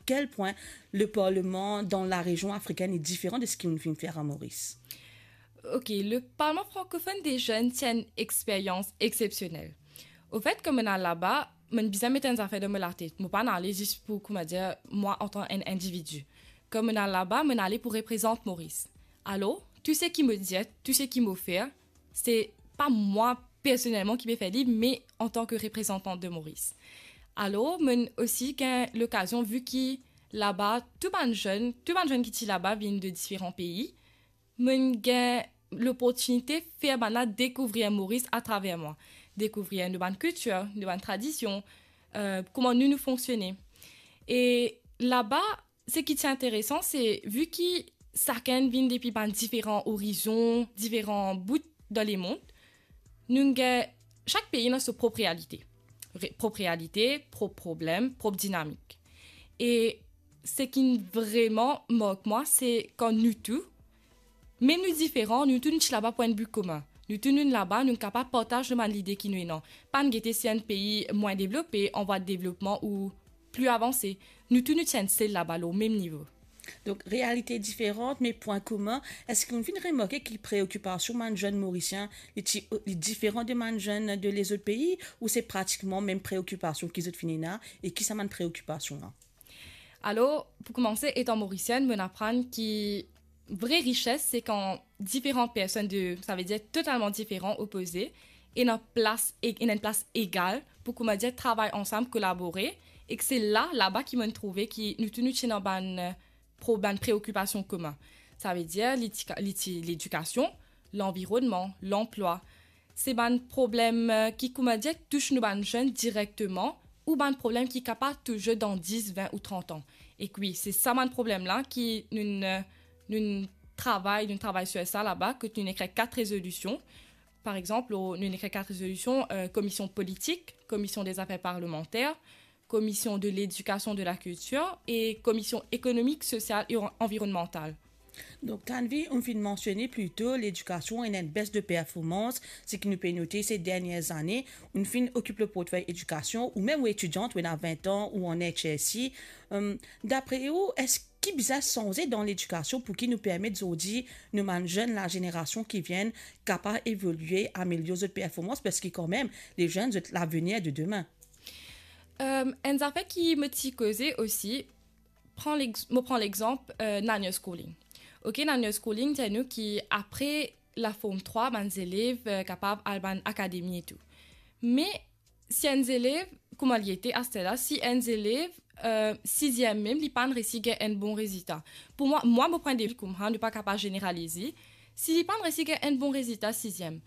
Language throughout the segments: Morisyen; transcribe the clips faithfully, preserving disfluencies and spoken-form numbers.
kel pwin le parleman dan larezion afrikenn li diferan de seki nou finn fer an Moris? Ok, le Parlement francophone des jeunes ti enn experyans exepsionel. Ofet, kan mo'nn al laba, mo'nn bizin met enn zafer dan mo latet. Mo pa'nn ale zis pou, koumadir, mwa antan enn individi. Kan mo'nn al laba, mo'nn ale pou reprezant Moris. Alor, tou seki mo dir, tou seki mo fer, se pa mwa personelman ki pe fer li, me antan ke reprezantant de Moris. Alor, mo'nn osi gagn lokazion, vi ki laba, tou bann zenn, tou bann zenn ki ti laba vinn de diferan pei, mo'nn gagn loportinite fer bannla dekouvrir Moris atraver mwa, dekouvrir nou bann kiltir, nou bann tradision, eh, kouma nou, nou fonksione. E laba, seki ti interesan, se vi ki sakenn vinn depi bann diferan orizon, diferan bout dan lemond, nou gagn, sak pei ena so prop realite. Re-, prop realite, prop problem, prop dinamik. E seki vreman mark mwa, se kan nou tou, mem nou diferan, nou tou nou ti laba pou enn bi komin. Nou tou nou laba, nou kapav partaz nou bann lide ki nou ena. Pa'nn gete si enn pei mwin devlope, an vwa de devlopman ou pli avanse. Nou tou nou ti enn sel laba lor mem nivo. Donk, realite diferan, me pwin komin. Eski ou finn remarke ki preokipasion bann zenn Morisien, li ti, li diferan de bann zenn de lezot pei, ou se pratikman mem preokipasion ki zot finn ena, e ki sa bann preokipasion la? Alor, pou koumanse, etan Morisienn, mo'nn aprann ki vre rises, se kan diferan personn de, savedir totalman diferan, opoze, ena plas, e-, ena enn plas egal pou, koumadir, travay ansam, kolabore, e ki se la, laba ki mo'nn trouve ki nou tou nou ti ena bann, eh, pro-, bann preokipasion komin. Savedir, li ti ka-, li ti ledikasion, lanvironnman, lanplwa. Se bann problem, eh, ki, koumadir, tous nou bann zenn direkteman, ou bann problem ki kapav tous zot dan dis, vin ou trant an. E wi, se sa bann problem la ki nou, eh, nou travay, nou travay sir sa laba, kot nou ekrir kat rezolision. Par exanp, nou ekrir kat rezolision, eh, komision politik, komision de zafer parlemanter, komision de ledikasion, de lakiltir e komision ekonomik, sosial e an-, anvironnmantal. Donk, Tanvi, ou finn mansione plito ledikasion ena enn bes de performans, seki nou pe note se dernie zane, ou finn okip le portfey edikasion, ou mem ou etidiant, ou ena vin an, ou an H S C. Em, dapre ou, eski bizin sanze dan ledikasion pou ki nou permet zordi nou bann zenn lazenerasion ki vinn kapav evolie, amelior zot performans, parski kanmem, le zenn, zot lavenir de demin. Em, enn zafer ki mo ti koze osi, pran lex-, mo pran lexanp, eh, Nanyos Schooling. Ok, Nanyos Schooling dir nou ki apre la Form trwa, bann zelev, eh, kapav al bann akademi e tou. Me si enn zelev, kouma li ete aster la, si enn zelev, eh, siziem mem, li pa'nn resi gagn enn bon rezilta. Pou mwa, mwa, mo pwin de vi koumsa, nou pa kapav zeneralize. Si li pa'nn resi gagn enn bon rezilta siziem,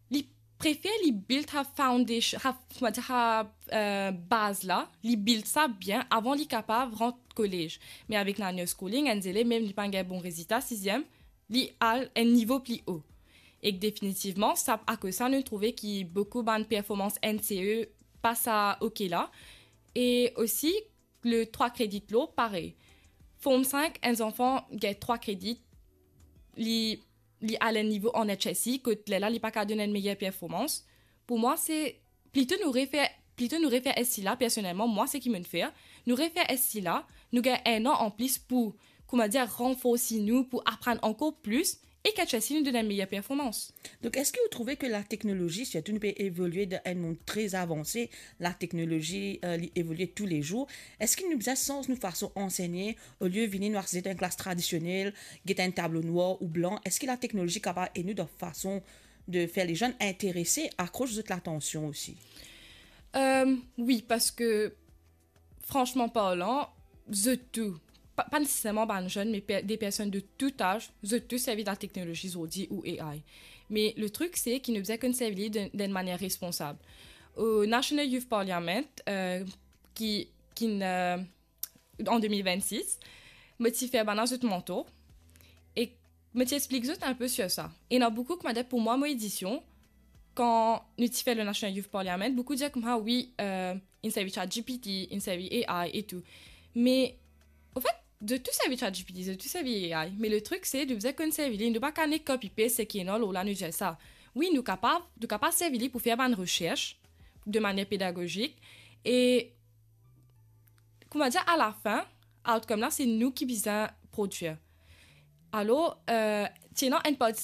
li prefer li build sa foundation, sa, koumadir, sa, eh, baz la, li build sa bien avan li kapav rant kolez. Me avek Nanyos Schooling, enn zelev, mem li pa'nn gagn bon rezilta siziem, li al enn nivo pli o. Ek definitivman, sa, akoz sa, nou trouve ki boukou bann performans N C E pa sa ok la. E osi, le trwa kredi lor, parey. Form sink, enn zanfan gagn trwa kredi, li, li al enn nivo an H S C, kot lerla li pa kapav donn enn meyer performans. Pou mwa, se plito nou refer, plito nou refer S C la, personelman, mwa, seki mo'nn fer, nou refer S C la, nou gagn enn an anplis pou, koumadir, ranforsi nou, pou aprann ankor plis, e ki H S C nou donn enn meyer performans. Donk, eski ou trouve ki lateknolozi, sirtou nou pe evolie dan enn mond tre avanse, lateknolozi, eh, li evolie toulezour, eski nou bizin sanz nou fason ansegne, olie vini nou asize dan enn klas tradisionel, get enn tablo nwar ou blan, eski lateknolozi kapav ed nou dan fason de fer lezenn interese, akros zot latansion osi? Em, wi, parski, fransman parlan, zot tou, pa, pa neseserman bann zenn, me per-, de personn de tou az, zot tou servi lateknolozi zordi ou A I. Me le trik, se ki nou bizin konn servi li dan, dan enn manier responsab. O National Youth Parliament, eh, ki, ki, eh, an de mil vennsis, mo ti fer bann zot manto, e mo ti explik zot enn pe sir sa. Ena boukou, koumadir, pou mwa, mo edision, kan nou ti fer le National Youth Parliament, boukou dir koumsa, wi, eh, inn servi ChatGPT, inn servi A I e tou. Me, anfet, zot tou servi ChatGPT, zot tou servi A I, me le trik, se nou bizin konn servi li, nou pa kapav nek copy-paste seki ena lor la, nou dir sa. Wi, nou kapav, nou kapav servi li pou fer bann resers de manier pedagozik, e koumadir, alafin, outcome la, se nou ki bizin prodwir. Alor, euh, ti ena enn parti